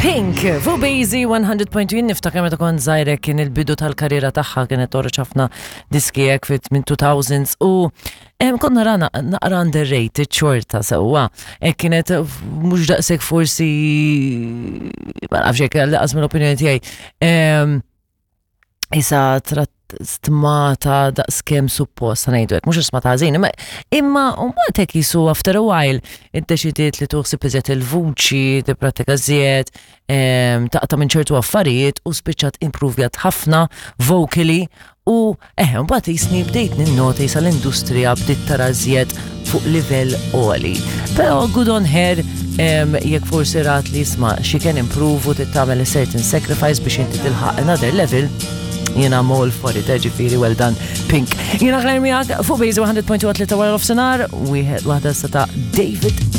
Pink, fuq Bazy 100.1 niftakar meta kont żgħira kien il-bidu tal-karriera tagħha kienet toħroġ ħafna diski hekk fit minn 2000s u em, konna rana naqra underrated xorta sewwa. Hekk kienet mhux daqshekk forsi ma nafx hekk laqas mill-opinjoni tiegħi. Em, Isa trat stmata daqskemm suppost ngħidu hekk, mhux stmata ħażin, imma imma mbagħad hekk jisu after a while iddeċidiet li tuħsib iżjed il-vuċi, tipprattika żjed, taqta' minn ċertu affarijiet u spiċċat improvjat ħafna vocally u eħe mbagħad jisni bdejt ninnota jisa l-industrija bdiet tara żjed fuq livell għoli. Però good on her jekk forsi rat li jisma' she can improve u tittamel a certain sacrifice biex inti tilħaq another level, jiena I'm all for it, eh, ġifieri well done Pink. Jiena Claire miegħek fuq Base 100.3 wara nofsinhar, wieħed waħda sa ta' David.